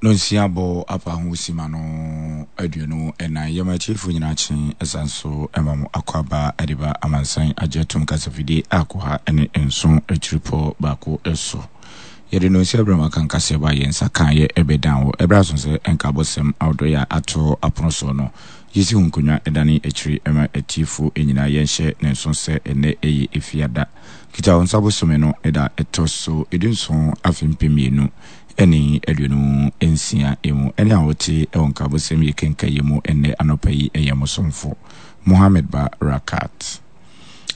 Nonsia bɔ apa ho sima no 24. Yɛma atiefo nyinaa kye ɛsan so ma mo akwaaba de ba amansan agye atom kasafidie a kɔ ha ne nson akyiripɔ baako so. Yɛde nonsia berɛ mu aka nkaseɛbɔ a yɛn nsa kaeɛ ɛbɛdan wɔ ɛberɛ aso sɛ nkabɔsɛm ahodoɔ yɛ a ato apono soɔ no. Yɛsi ho nkonnwa dane akyiri ma atiefo nyinaa yɛnhyɛ ne nso sɛ ɛnnɛ ɛyɛ Efiada Kitawonsa bosome no da ɛtɔ so 17 afe 2026 mu. Ɛne a wote wɔ nkabosɛm yi kenka yi mu ɛnnɛ anɔpa yi yɛ mo somfo Mohammed Ba Rakat.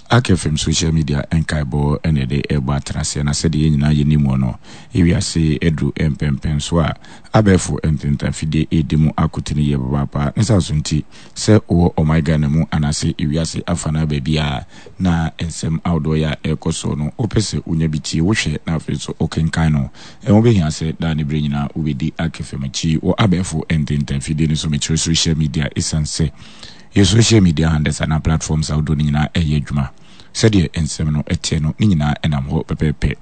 Ak FM social media nkaebɔ na yɛde rebɔ atenaseɛ na sɛdeɛ yɛn nyinaa yɛnim wɔ no, ewiase aduru mpɛnpɛnsoɔ a abɛɛfo ntentanfidie redi mu akotene yie papaapa. Ne saa so nti, sɛ wowɔ ɔman Ghana mu anaase ewiase afanaa baabiara na nsɛm ahodoɔ yɛ a ɛrekɔ soɔ no, wopɛ sɛ wonya bi tie, wohwɛ na afei nso wokenkan no, ɛho bɛhia sɛ daa ne berɛ nyinaa wobɛdi Ak FM akyi wɔ abɛɛfo ntentanfidie no so, mekyerɛ social media, ɛsiane sɛ yɛ social media handles anaa platforms ahodoɔ no nyinaa ɛyɛ adwuma. Sɛdeɛ nsɛm no teɛ no, ne nyinaa ɛnam hɔ pɛpɛɛpɛ.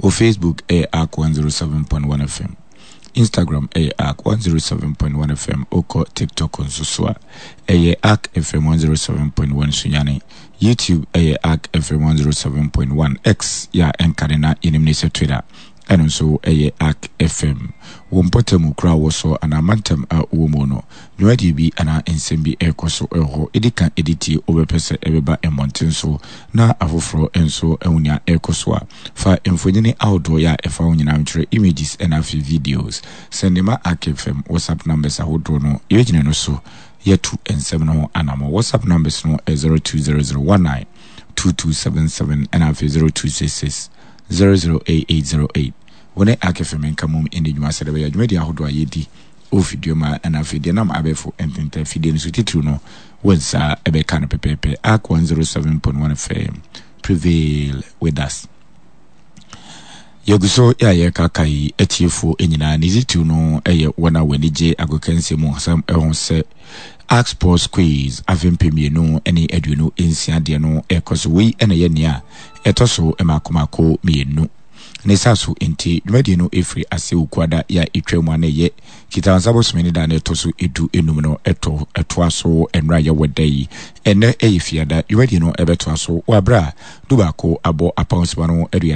Wɔ Facebook ɛyɛ Ark 107.1 FM. Instagram ɛyɛ Ark 107.1 FM. Wokɔ TikTok nso so a, ɛyɛ Ark FM 107.1 Sunyani. YouTube ɛyɛ Ark FM 107.1. X yɛ a ɛnkane na yɛnim ne sɛ Twitter. Ɛno nso yɛ Ark FM. Wo mpɔtam kuro a wowɔ so anaa mantam a wowɔ mu no, dwumadie bi anaa nsɛm bi rekɔ so wɔ hɔ. Ɛdi kan de tie, wobɛpɛ sɛ ɛbɛba mmɔnten so na afoforɔ nso ahu nea ɛrekɔ so a, fa mfonini ahodoɔ yɛ a ɛfa ho nyinaa nkyerɛ, images ɛna afei videos. Sɛnde ma Ark FM WhatsApp numbers ahodoɔ no, yɛbɛgyina ɛno so yɛatu nsɛm no ho anammɔn. WhatsApp numbers no yɛ 020019 2277 ɛna afei 0266 008808. Wo ne Ark FM nka mmom nni dwuma sɛdeɛ ɛbɛyɛ a dwumadie ahodoɔ a yɛdi wɔ fidua mu ha ɛna afei deɛ ɛnam abɛɛfo ntentan fidie no so titiriw no, wo nsa bɛka no pɛpɛɛpɛ. Ark 107.1 FM, prevail with us. Yɛgu so yɛ a yɛrekakae atiefoɔ nyinaa, ne titiriw no yɛ wɔn a wɔn ani gye agokansie mu nsɛm ho sɛ Ask Sports Quiz afe 2026 deɛ no rekɔ so. Wei na ɛyɛ nea ɛtɔ so mmaako mmaako mmienu. Ne saa so nti, dwumadie no firi ase Wukuada yi a ɛtwa mu a na ɛyɛ Kitawansa bosome ne da a na ɛtɔ so 15 no ɛtɔ ɛtoa so nnora yɛwɔ da yi. Ɛnnɛ ɛyɛ Fiada, dwumadie no ɛbɛtoa so wɔ aberɛ a 11 abɔ apɔnsima no 30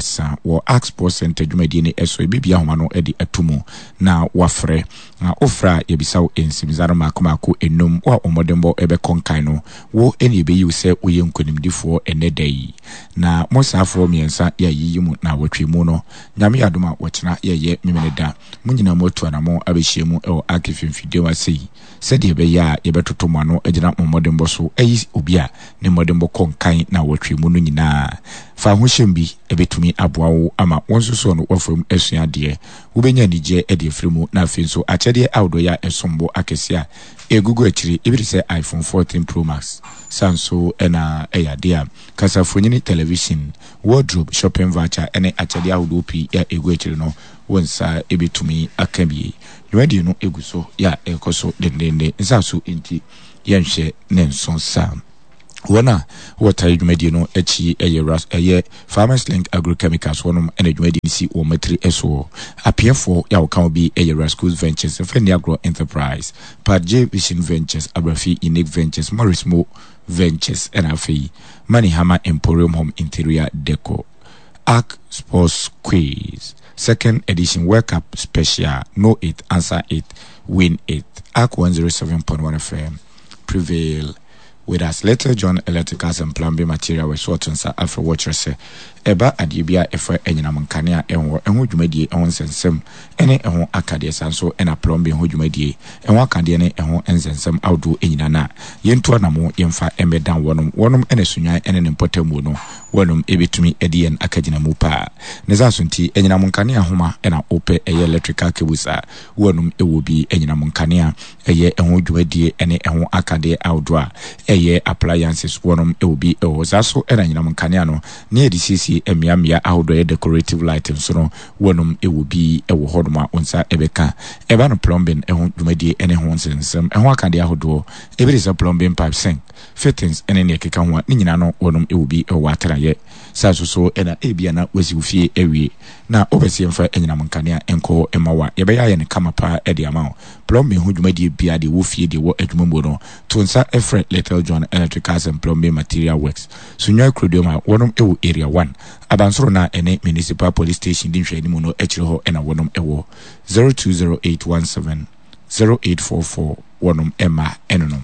wɔ Ask Sports Center dwumadie no so. Ɛbɛbie ahoma no de ato mu na wafrɛ. Na wofrɛ a, yɛbisa wo nsɛmmisa no mmaako mmaako nnum. Wo a wo mmɔdenbɔ bɛkɔ nkan no, wo na yɛbɛyi wo sɛ woyɛ nkonimdifoɔ ɛnnɛ da yi. Na mo saafoɔ mmiɛnsa yɛayiyi mo naawɔtwe mu no, Nyame yɛ adom a wɔkyena yɛyɛ Memeneda. Mo nyinaa moatu anamɔn abɛhyia mu wɔ Ark Mfimfini ase yi, sɛdeɛ ɛbɛyɛ a yɛbɛtoto mo ano agyina mo mmɔdenbɔ so ayi obi a ne mmɔdenbɔ kɔ nkan naawɔtwe mu no nyinaa. Fa ahohyɛm bi bɛtumi aboa wo ama wo nso so no woafa mu asua adeɛ. Wobɛnya anigyeɛ de afiri mu, na afei nso akyɛdeɛ ahodoɔ yi a ɛsom bo akɛseɛ a ɛgugu akyire, ebi te sɛ iPhone 14 Pro Max, saa nso na ɛyɛ adeɛ a kasafonini, television, wardrobe, shopping voucher ne akyɛdeɛ ahodoɔ pii a ɛgu akyire no, wo nsa bɛtumi aka bi. Dwumadie no gu so yɛ a ɛrekɔ so dendeenden, nsa so nti yɛnhwɛ ne nso saa. Wɔn a wɔtae dwumadie no akyi yɛ Ras ɛyɛ Farmers Link Agrochemicals wɔnom na dwumadie no si wɔn matiri soɔ. Apeɛfoɔ yɛ a wɔka ho bi yɛ Rascos Ventures, Mfɛnni Agorɔ Enterprise, Pat J Vision Ventures, Abrafi Unique Ventures, Morris Mo Ventures ɛna afei Manihama Emporium Home Interior Decor. Arc Sports Quiz Second Edition World Cup Special Know It, Answer It, Win It Arc 107.1 FM Prevail with us. Little John Electricals and Plumbing Material wɔ so ɔto nsa afrɛ wɔ kyerɛ sɛ ɛba adeɛ bi a ɛfa anyinam nkanea ɛho ɛho dwumadie ɛho nsɛnsɛm ɛne ɛho akadeɛ saa nso ɛna plumbing ho dwumadie ɛho akadeɛ ne ɛho nsɛnsɛm ahodoɔ nyina no a yɛntu anamo yɛmfa ɛmmɛdan wɔnom wɔnom ɛna Sunyani ɛne ne mpɔtamuo no wɔnom ɛbɛtumi ɛde yɛn akagyinamu paa. Ne saa so nti anyinam nkanea nhoma ɛna wopɛ ɛyɛ electrical cables a wɔnom ɛwɔ bi anyinam nkanea ɛyɛ ɛho dwumadie ne ɛho akadeɛ ahodoɔ a ɛyɛ appliances wɔnom wɔ bi wɔ hɔ. Saa so na anyinam nkanea no ne yɛde siesie asiesie mmeammea ahodoɔ ɛyɛ decorative light nso no, wɔnom wɔ bi wɔ hɔnom a wo nsa bɛka. Ɛba no plumbing ho dwumadie ne ho nsɛnsɛm, ɛho akadeɛ ahodoɔ, ebi te sɛ plumbing pipe, sink, fittings ne nea ɛkeka ho a, ne nyinaa no wɔnom wɔ bi wɔ w'atenaeɛ. Saa nso so na ebia na woasi wo fie awie na wopɛ sɛ yɛmfa anyinam nkanea nkɔ hɔ mma wo a, yɛbɛyɛ ayɛ no kama paa de ama wo. Plumbing ho dwumadie biara, deɛ ɛwɔ fie, deɛ ɛwɔ adwuma mu no, to nsa frɛ Little John Electricals and Plumbing Material Works, Sunyani Kuroduam a wɔnom wɔ Area 1, Abansoro no a ɛne Municipal Police Station di nhwɛanimu no akyire hɔ na wɔnom wɔ. 020817 0844 wɔnom mma ɛnonom.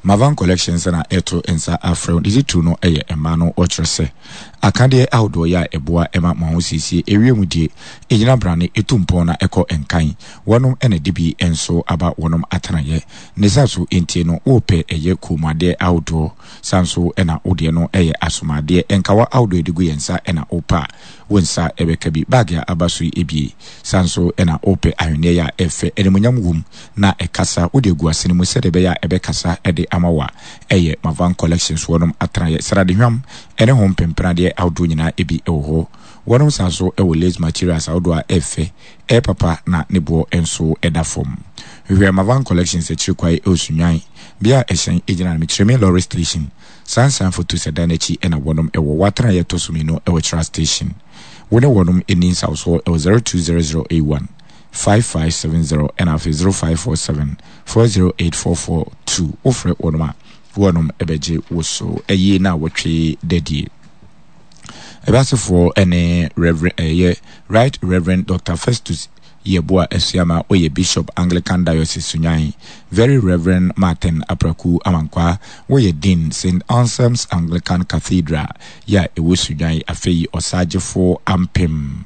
Mavan Collections na ɛto nsa afrɛ wo. Ne titiriw no yɛ mmaa no. Wɔkyerɛ sɛ akadeɛ ahodoɔ yɛ a ɛboa ma mo ahosiesie, ewiem die, ɛgyina brane, ɛtu mpɔn na ɛkɔ nkan. Wɔnom na ɛde bi nso aba wɔnom atenaeɛ. Ne saa so nti no wopɛ ɛyɛ kɔnmuadeɛ ahodoɔ, saa nso na wo deɛ no yɛ asomadeɛ, nkawa ahodoɔ yɛde gu yɛn nsa na wopɛ a, wo nsa bɛka bi. Bag a aba so yi bie. Saa nso na wopɛ ahweneɛ yɛ a ɛfɛ, animuonyam wom na ɛkasa, wode agu asene mu sɛdeɛ ɛbɛyɛ a ɛbɛkasa de ama wo a, ɛyɛ Mavan Collections wɔnom atenaeɛ. Sradehwam ne ho mpempenadeɛ ahodoɔ nyinaa bi wɔ hɔ. Wɔnom san nso wɔ lace materials ahodoɔ a ɛfɛ, ɛyɛ papa na ne boɔ nso da fam. Hwehwɛ Mavan Collections akyiri kwae wɔ Sunyani, bea a ɛhyɛn gyina no, Mekyeremi Lorry Station. Saa nsan foto sɛ dan no akyi na wɔnom wɔ. W'atenaeɛ ɛtɔ so mienu wɔ Kyira Station. Wo ne wɔnom nni nsawsoɔ wɔ 020081 5570 ɛna afei 0547 408 442. Wo frɛ wɔnom a, wɔnom bɛgye wo so. Ayie na wɔtwe dadie. Ɛbasefoɔ ne Reverend ɛyɛ Right Reverend Doctor Festus Yeboah Asuama ɔyɛ Bishop Anglican Diocese Sunyani, Very Reverend Martin Apraku Amankwah wɔyɛ Dean Saint Anselm's Anglican Cathedral yɛ a ɛwɔ Sunyani, afei Ɔsagyefo Ampem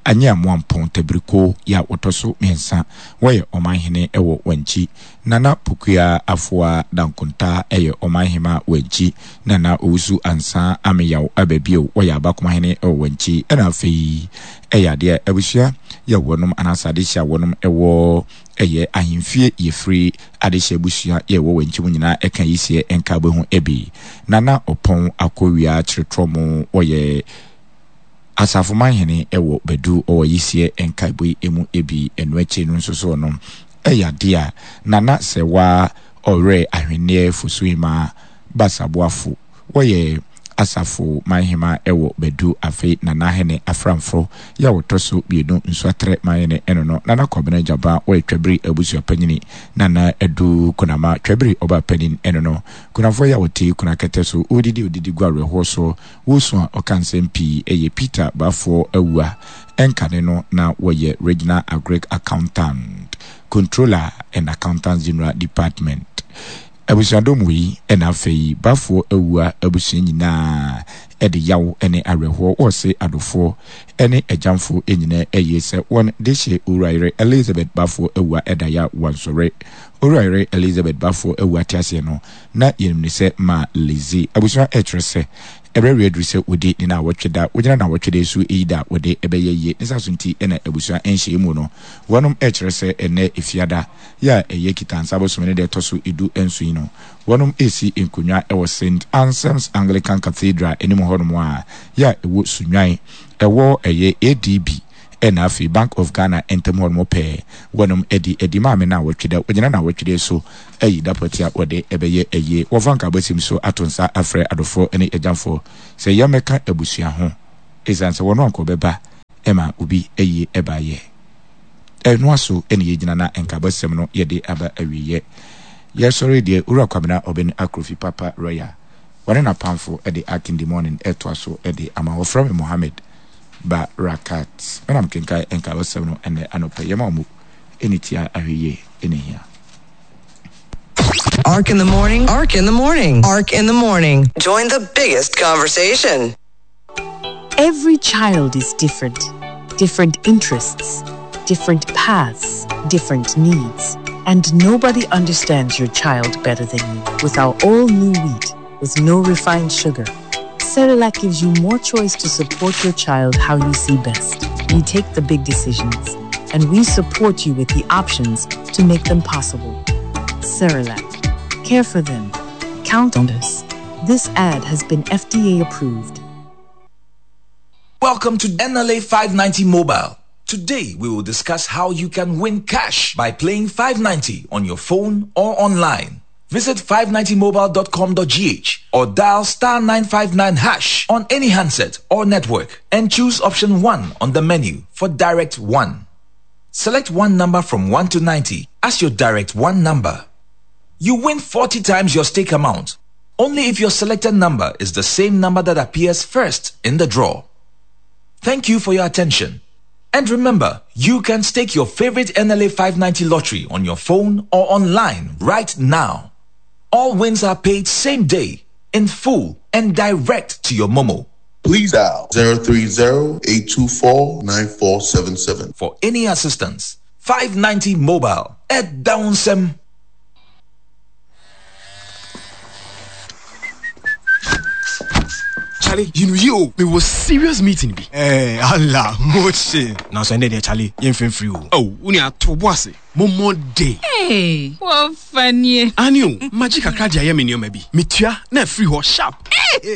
Anyiamoampong Tabiriko yɛ a wɔtɔ so miɛnsa wɔyɛ Ɔmanhene wɔ Wankyi, Nana Pokuaa Afoa Dankontaa yɛ Ɔmanhema Wankyi, Nana Owusu Ansah Ameyaw aba bio wɔyɛ Abakomahene wɔ Wankyi, ɛna afei ɛyɛ adeɛ a abusua yɛ wɔnom anaasɛ adehye a wɔnom wɔ ɛyɛ ahemfie yɛfiri adehye abusua yɛ wɔ wankyi mu nyinaa ɛka yiseɛ nka wobɛhu ɛbi Nana Ɔpɔn Akowia Kyeretrɔmo wɔyɛ Asafomanhene wɔ Badu ɔwɔ yiseɛ nkaebɔ yi mu ɛbi ɛno akyiri no nso so no ɛyɛ adeɛ a Nana Sɛwa Ɔwerɛ Ahwenneɛ Fosuhemaa Basaboafo Wɔyɛ asafo manhema wɔ Badu afe Nana Hene Aframfo yɛ a wɔtɔ so mienu Nsuatrɛ manhene ɛno no Nana Kwabena Gyaba wɔyɛ Twabiri abusua panyini Nana Adu Kunama Twabiri ɔbaa panin ɛno no Kunafoɔ yɛ a wɔte Kuna kɛtɛ so Wodidi odidi gu awerɛhoɔ so Wosu a ɔka nsɛm pii ɛyɛ Peter Bafoɔ Awua ɛnkane no na wɔyɛ Regional Agric Accountant Controller and Accountant General Department Abusuadɔm wei na afei Bafoɔ Awua abusua nyinaa de yaw ne awerɛhoɔ wɔse adofoɔ ne agyamfoɔ nyinaa ayie sɛ wɔn dehye Owurayere Elizabeth Bafoɔ Awua da ya wansɔre. Owurayere Elizabeth Bafoɔ Awua te aseɛ no na yɛnim no sɛ Ma Lizzie. Abusua ɛkyerɛ sɛ ɛberɛ readuru sɛ wɔdi ne naawɔtwe da, wɔgyina naawɔtwe da yi so yi da a wɔde bɛyɛ yie. Ne saa so nti na abusua nhyiamu mu no wɔnom ɛkyerɛ sɛ ɛnnɛ Efiada yi a ɛyɛ Kitansa bosome no da ɛtɔ so edu nson yi no, wɔnom resi nkonnwa wɔ Saint Anselm's Anglican Cathedral anim hɔnom a yɛ a ɛwɔ Sunyani, ɛwɔ ɛyɛ ADB ɛna afei Bank of Ghana ntam hɔnom pɛɛ. Wɔnom adi adi maame naawɔtwe da, wɔgyina naawɔtwe da yi so ayi da pɔtee a wɔde ɛbɛyɛ ayie. Wɔfa nkaabɔsɛm so ato nsa afrɛ adɔfoɔ ne agyamfoɔ sɛ yɛmmɛka abusua ho esiane sɛ wɔn anka wɔbɛba ma obi ayie ɛbaeɛ. Ɛnoa so na yɛgyina na nkaabɔsɛm no yɛde aba awieɛ. Yɛsɔre deɛ Owura Kwabena Obeng Akrofi Papa Royal wɔne n'apamfo de Ark in the Morning ɛtoa so de ama. Wɔfrɛ me Mohammed Barakat. Me na mekenkan nkaabɔsɛm no ɛnnɛ anɔpa yi. Yɛma wo mo ɛne tia ahwɛyie ɛna hia. Ark in the morning, Ark in the morning, Ark in the morning. Join the biggest conversation. Every child is different. Different interests, different paths, different needs. And nobody understands your child better than you. With our all new wheat, with no refined sugar, Cerelac gives you more choice to support your child how you see best. We take the big decisions, and we support you with the options to make them possible. Cerelac. Care for them. Count on us. This ad has been FDA approved. Welcome to NLA 590 Mobile. Today, we will discuss how you can win cash by playing 590 on your phone or online. Visit 590mobile.com.gh or dial star 959 hash on any handset or network and choose option 1 on the menu for direct 1. Select one number from 1 to 90 as your direct 1 number. You win 40 times your stake amount only if your selected number is the same number that appears first in the draw. Thank you for your attention. And remember, you can stake your favorite NLA 590 lottery on your phone or online right now. All wins are paid same day, in full, and direct to your Momo. Please dial 030-824-9477. For any assistance, 590 Mobile at Downsem. Charlie, you know you me was serious meeting bi. Eh, Allah, moche. Na so ende de Charlie, yɛn fɛn free o. Oh, wo ni ato bo ase. Mo mo de. Hey, wo fanie. Ani o, magye kakra de ayɛ me nneɛma bi. Metua na afiri hɔ sharp. Hey!